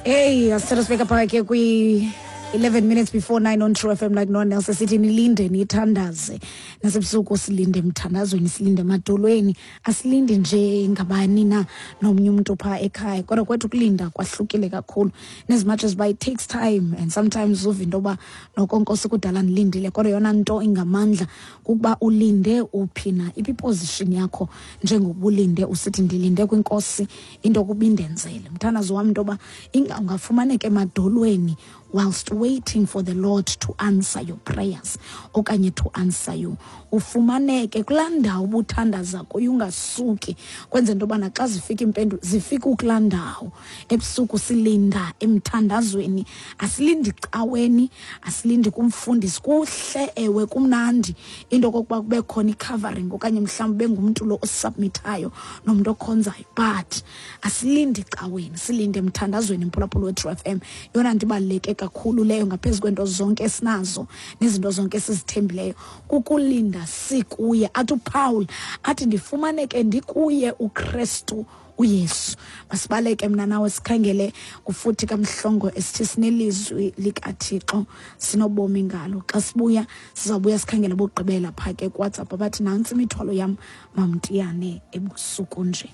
Hey, asithatha sibeka phaka ke kwi 11 minutes before 9 on True FM like no one else. Sithi nilinde, nithandaze. Nasebusuku silinde emthandazweni, silinde emadolweni. Asilindi nje ngabani na nomnye umuntu phaa ekhaya, kodwa kwethu kulinda kwahlukile kakhulu. And as much as uba it takes time and sometimes uva into yoba noko Nkosi kudala ndilindile, kodwa yona nto ingamandla kukuba ulinde uphi na, iphi iposition yakho njengokuba ulinde usithi ndilinde kwiNkosi into yokuba indenzele. Mthandazo wam into yoba ungafumaneka emadolweni whilst waiting for the Lord to answer your prayers okanye to answer you. Ufumaneke kulaa ndawo ubuthandaza kuyo, ungasuki, kwenze into yobana xa zifika iimpendulo zifike ukulaa ndawo. Ebusuku silinda emthandazweni, asilindi caweni, asilindi kumfundisi. Kuhle ewe, kumnandi into okokuba kube khona i-covering okanye mhlawumbi bengumntu lo osubmithayo nomntu okhonzayo, but asilindi caweni, silinde emthandazweni. Mphulaphula we-True FM, yona nto ibaluleke kakhulu leyo ngaphezu kwento zonke esinazo nezinto zonke esizithembileyo kukulinda sikuye. Athi uPaul athi ndifumaneke ndikuye uKristu uYesu. Masibaleke mna nawe sikhangele kufuthi kaMhlongo esithi sinelizwi likaThixo sinobomi ngalo. Xa sibuya sizawubuya sikhangele bokugqibela phaa ke kuWhatsApp abathi nantsi imithwalo yam mamntiyane ebusuku nje.